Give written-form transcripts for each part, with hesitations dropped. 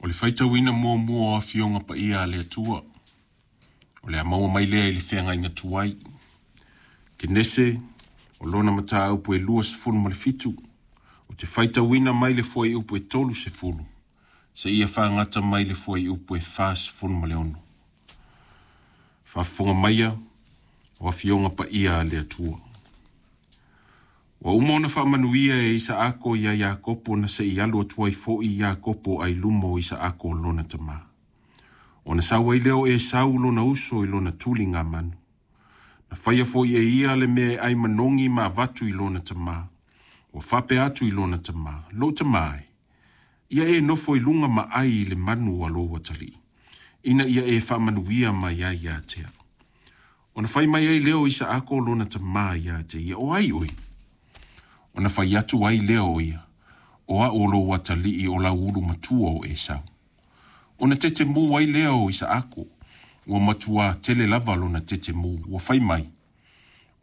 O le faitauina muamua o Afioga Paia a le Atua, o le a maua mai lea i le feagaiga tuai. Kenese, o lona mataupu e 27, ou te faitauina mai le fuaiupu e 30, seia fagata mai le fuaiupu e 46. Faafofoga maia, o Afioga Paia a le Atua. Ua uma ona faamanuia e Isaako iā Iakopo na se i alu atu ai foi Iakopo ai luma o Isaako lona tama. Ona sau ai lea o Esau lona uso i lona tuligamanu. Na faia foi e ia le mea e ai manogi ma avatu i lona tama. Ua faapea atu i lona tama, Lou tama e, ia e nofo i luga ma ai i le manu a lou atalii, ina ia e faamanuia mai ai ia te au. Ona fai mai ai lea o Isaako lona tama ia te ia, O ai oe? Ona fai atu ai lea o ia, O au o lou atalii o lau ulu matua o Esau. Ona tetemu ai lea o Isaako, ua matuā tele lava lona tetemu, ua fai mai,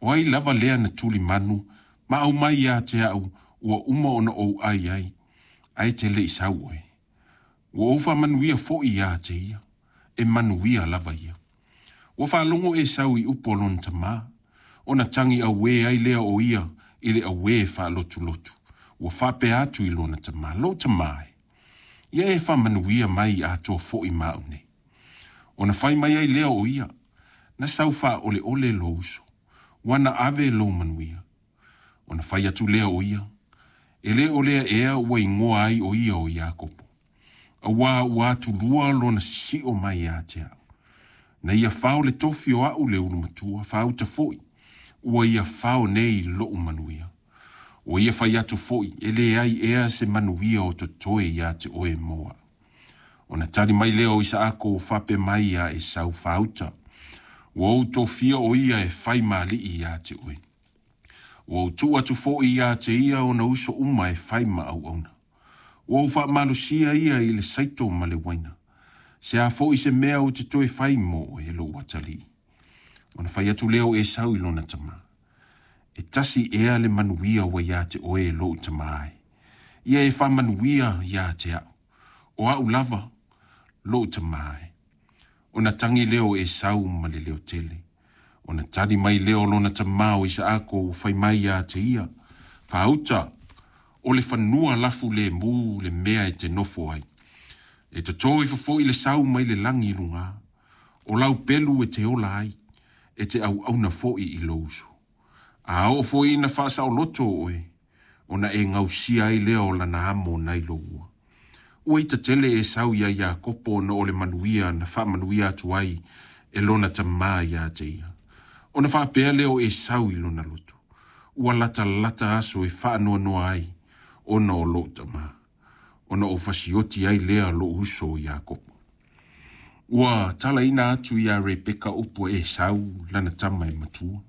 O ai lava lea na tuli manu ma aumai ia te au ua uma ona ou ai ai, ae te le i sau oe? Ua ou faamanuia foi ia te ia, e manuia lava ia. Ua faalogo Esau i upu a lona tama, ona tagi auē ai lea o ia i le auē faalotulotu, ua faapea atu i lona tama, Lou tama e, ia e faamanuia mai atoa foi ma au nei. Ona fai mai ai lea o ia, Na sau faaoleole lou uso, ua na ave lou manuia. Ona fai atu lea o ia, E le o lea ea ua igoa ai o ia o Iakopo, auā ua atulua lona sisio mai ia te au. Na ia fao le tofi o a'u le ulu matua, faauta foi, ua ia fao nei lo'u manuia. Ua ia fai atu foi, E leai ea se manuia o totoe ia te oe mo a'u. Ona tali mai lea o Isaako ua faapea mai iā Esau, Faauta, ua ou tofia o ia e fai ma alii ia te oe. Ua ou tuu atu foi ia te ia ona uso uma e fai ma auauna. Ua ou faamalosia ia i le saito ma le uaina. Se a foi se mea ou te toe fai mo oe, e lou atalii? Ona fai atu lea o Esau i lona tama, E tasi ea le manuia ua ia te oe e lou tama e? Ia e faamanuia ia te au, o au lava lou tama e. Ona tagi lea o Esau ma le leo tele. Ona tali mai lea o lona tama o Isaako ua fai mai ia te ia, Faauta, o le fanua lafu lemu le mea e te nofo ai. E totō ifo foi le sau mai le lagi i luga. O lau pelu e te ola ai, e te auauna foi i lou uso. A oo foi ina faasaoloto oe, ona e gausia ai lea o lana amo nai lou ua. Ua ita tele Esau iā Iakopo ona o le manuia na faamanuia atu ai e lona tama ia te ia. Ona faapea lea o Esau i lona loto, Ua latalata aso e faanoanoa ai ona o lou tama, ona ou fasioti ai lea lou uso o Iakopo. Ua talaina atu iā Rebeka upu a Esau lana tama e matua.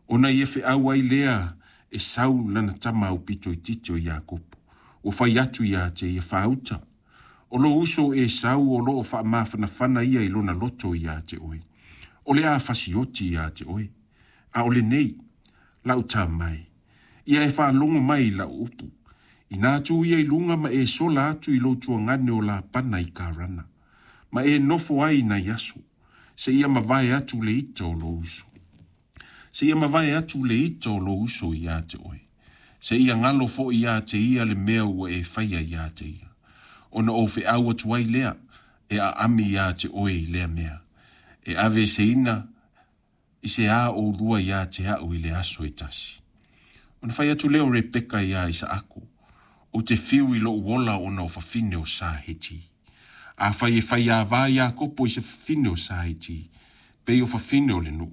Ona ia feau ai lea Esau lana tama aupito itiiti o Iakopo, ua fai atu ia te ia, Faauta, o lou uso o Esau o lo o faamafanafana ia i lona loto ia te oe, o le a fasioti ia te oe, a o lenei, lau tama e, ia e faalogo mai i lau upu, inā tū ia i luga ma e sola atu i lou tuagane o Lapana i Karana, ma e nofo ai i nai aso, seia mavae atu le ita o lou uso. Seia mavae atu le ita o lou uso ia te oe. Seia galo foi ia te ia le mea ua e faia ia te ia. Ona ou feau atu ai lea, e aami ia te oe i lea mea. E ave eseina i se a ʻolua ia te aʻu i le aso e tasi. Ona fai atu lea o Rebeka iā Isaako, Ou te fiu i loʻu ola ona o fafine o Sa Heti. Afai e faiāwā Iakopo i se fafine o Sa Heti, pei o fafine o le nuu,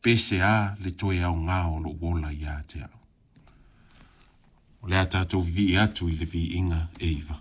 pe se a le toe aogā o loʻu ola ia te aʻu. O le a tatou vivii atu i le viiga e iva.